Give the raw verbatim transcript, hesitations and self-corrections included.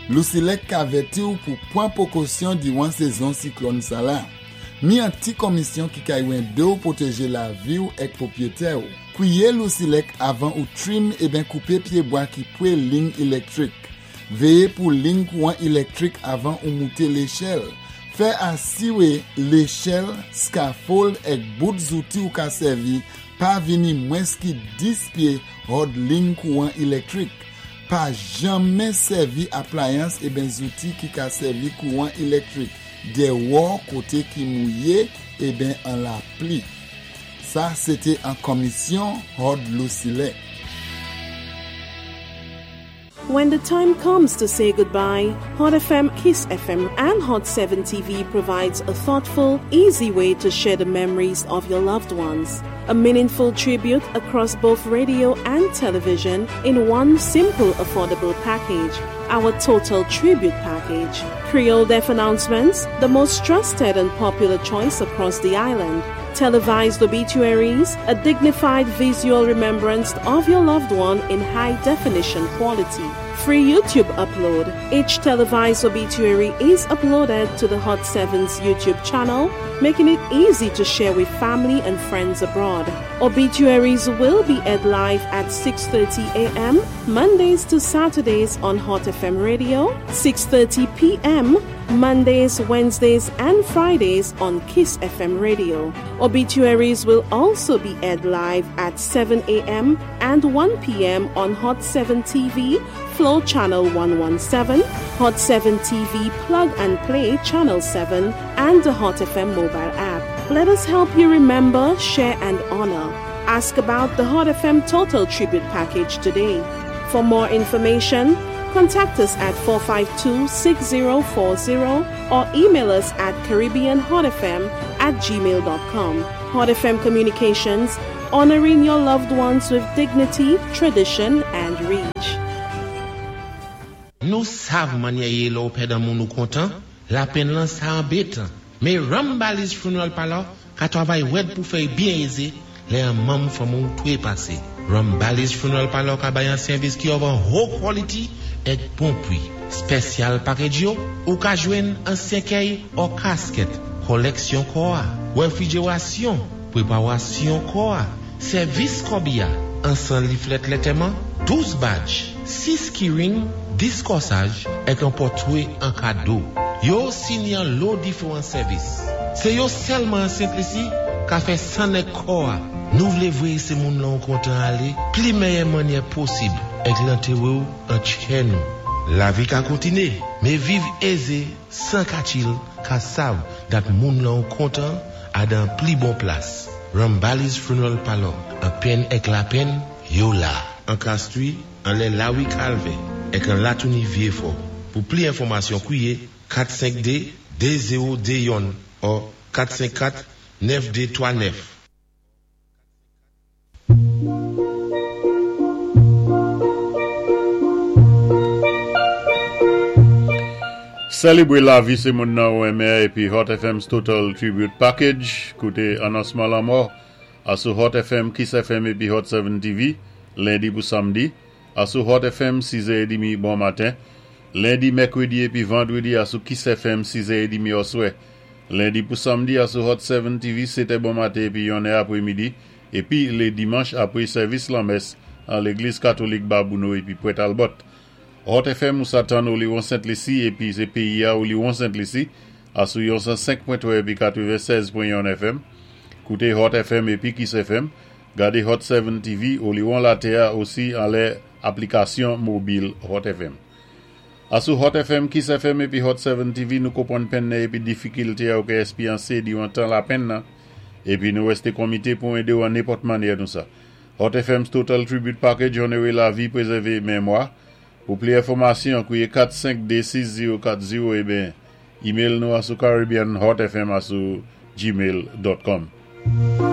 Lusilek ka avèti ou pou pwan pwékosyon diwan sézon siklòn sa la. Mi an ti komisyon ki ka édé ou pwotéjé lavi ou èk pwopwiyété ou. Kwiyé Lusilek avan ou trim eben koupé pyébwa ki pwé lign ilektwik. Véyé pou lign kouwan ilektwik avan ou mouté léchèl. Fè asiwé léchèl, scaffold èk bout zouti ou ka sèvi pa vini mwens ki dis pyé hòd lign kouwan ilektwik. Pa janmen sèvi aplayans eben zouti ki ka sèvi kouwan ilektwik déwò koté ki mouyé eben an lapli. Sa, sété an komisyon hòd Lusilek. When the time comes to say goodbye, Hot F M, Kiss F M, and Hot seven T V provides a thoughtful, easy way to share the memories of your loved ones. A meaningful tribute across both radio and television in one simple, affordable package. Our Total Tribute Package. Creole Death Announcements, the most trusted and popular choice across the island. Televised obituaries, a dignified visual remembrance of your loved one in high definition quality. Free YouTube upload. Each televised obituary is uploaded to the Hot seven's YouTube channel, making it easy to share with family and friends abroad. Obituaries will be aired live at six thirty a m. Mondays to Saturdays on Hot F M Radio, six thirty p m. Mondays, Wednesdays, and Fridays on Kiss F M Radio. Obituaries will also be aired live at seven a m and one p m on Hot seven T V, Flow Channel one one seven, Hot seven T V Plug and Play Channel seven, and the Hot F M mobile app. Let us help you remember, share, and honor. Ask about the Hot F M Total Tribute Package today. For more information, contact us at four five two, six zero four zero or email us at caribbeanhotfm at gmail dot com. Hot F M Communications, honoring your loved ones with dignity, tradition, and reach. Nou sav mannyè yé lè ou pèd an moun ou kontan, lapenn lan sa anbétan. Mé Rambali's Funeral Parlor ka twavay wèd pou fè byen ézé lè an manm fanmi ou twé pasé. Rambali's Funeral Parlor ka bay an sèvis ki of an haut quality èk bon pwi. Special package yo, ou ka jwenn an sèkèy ou kasket, koleksyon kò a, wefrijerasyon, pweparasyon kò a, sèvis kòbiya, an san leaflet lantèman, douz badge, sis keyring, dis kòsaj, èk an pòtwé an kado. Yo sini an lo diféwan sèvis. Sé yo sèlman an Sent Lisi ka fè sann èk kò a. Nou vlé vwé sé moun lan ou kontan alé, pli méyè mannyè posib, èk lantéwé ou an tchè nou. Lavi ka kontiné, mé viv ézé, san katchil, ka sav dat moun lan ou kontan a dan pli bon plas. Rambali's Funeral Parlor, an penn èk lapenn, yo la. An Castries, anlè Lawi Calvin, èk an Latouni Vieux-Fort. Pou pli enfòmasyon, kwiyé kat senk de, de zewo de youn ou kat senk kat, nèf de twa nèf. Sélébwé lavi sé moun nan ou enmen épi Hot F M's Total Tribute Package. Kouté anonsman lanmò asou Hot F M, Kiss F M épi Hot seven T V, lendi pou samdi. Asou Hot F M, siz è dmi bon maten. Lendi, mèkwédi épi vandwédi asou Kiss F M, siz è dmi oswè. Lendi pou samdi asou Hot seven T V, sétè bon maten épi yonnè apwémidi. Épi lé dimanch apwé sèvis lanmès an légliz katolik Babouno épi Pwèt Albot. Hot F M ou sa tann Oliwon Sent Lisi épi sé péyi a Oliwon Sent Lisi asou yon san senk pwen twa épi katwennsèz pwen youn F M. Kouté Hot F M épi Kiss F M. Gadé Hot seven T V, Oliwon Latè a osi anlè aplikasyon mobil Hot F M. Asou Hot F M, Kiss F M épi Hot seven T V, nou konpwann penn nan épi difikilté a ou ka espwyansé diwan tan lapenn nan épi nou wèsté komité pou édé ou an nenpòt mannyè nou sa. Hot F M's Total Tribute Package honoré lavi, pwézèvé mémwa. Pou pli enfòmasyon, kwiyé kat senk de, sis zewo kat zewo eben email nou asou caribbeanhotfm asou gmail dot com.